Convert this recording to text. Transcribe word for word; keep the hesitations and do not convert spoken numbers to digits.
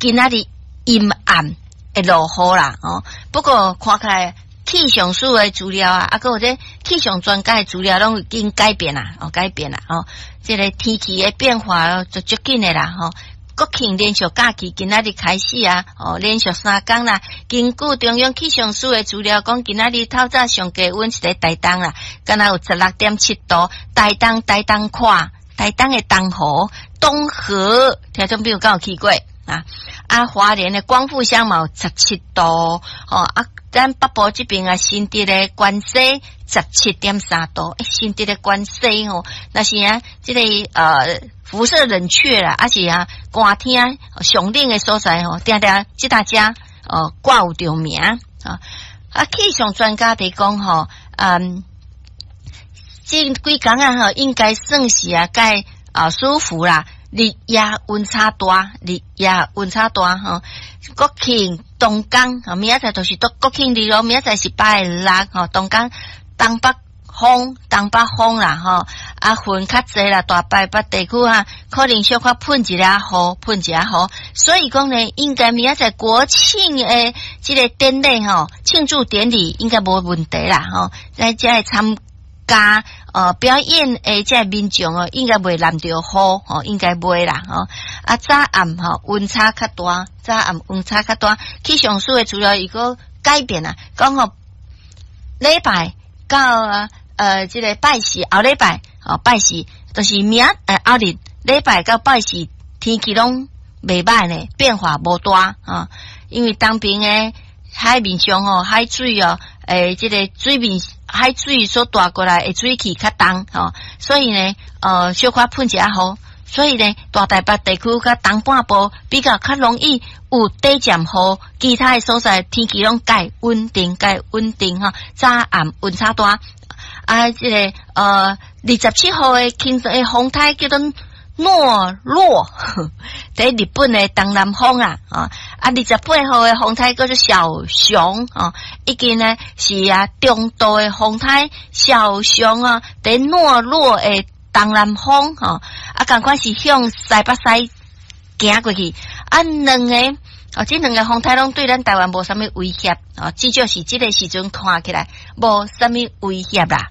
今仔日陰暗會落雨啦，哦。不過看起來氣象署的資料啊，啊，閣有這氣象專家的資料攏已經改變啦，哦，改變啦，哦，這個天氣的變化就足緊的啦，吼。國慶連續假期今仔日開始啊，哦，連續三工啦。根據中央氣象署的資料講，今仔日透早上低溫是佇台東啦，敢若有十六點七度。台東台東看，台東的東湖、東河，聽眾朋友敢有去過啊？啊，花蓮的光復鄉嘛有十七度，哦啊，咱北部這邊啊，新竹的關西十七點三度，欸，新竹的關西吼，若是啊，這個呃。輻射冷卻啦，抑是啊，寒天上冷的所在吼，定定這大家哦掛有著名啊。啊，氣象專家佇講吼，嗯，這幾工啊吼，應該算是啊，較啊舒服啦。日夜溫差大，日夜溫差大吼。國慶東江，明仔載就是國國慶日咯，明仔載是拜六吼，東江東北風，東北風啦吼，啊雲較濟啦，大台北地區啊，可能小可噴一下雨，噴一下雨，所以講呢，應該明仔載國慶的這個典禮吼，慶祝典禮應該無問題啦吼，咱遮會參加呃表演的這民眾哦，應該袂淋著雨吼，應該袂啦吼。啊早暗吼溫差較大，早暗溫差較大，氣象署的資料伊閣改變啊，講吼禮拜到呃這個拜四後禮拜哦拜四，就是明呃後日禮拜到拜四天氣攏袂䆀呢，變化無大啊，因為東邊的海面上吼海水哦，欸這個水面海水所帶過來的水汽較重吼，所以呢，呃小可噴一下雨，所以呢，大台北地區佮東半部比較較容易有短暫雨，其他的所在天氣攏較穩定，較穩定吼，早暗溫差大。啊，這個呃二十七號的輕的風颱叫做諾洛，佇日本的東南方啊，啊，二十八號的風颱叫做小熊啊，已經呢是啊中度的風颱小熊啊，佇諾洛的東南方吼，啊，仝款是向西北西行過去，啊，兩個哦，這兩個風颱攏對咱台灣無啥物威脅，哦，至少是這個時陣看起來無啥物威脅啦。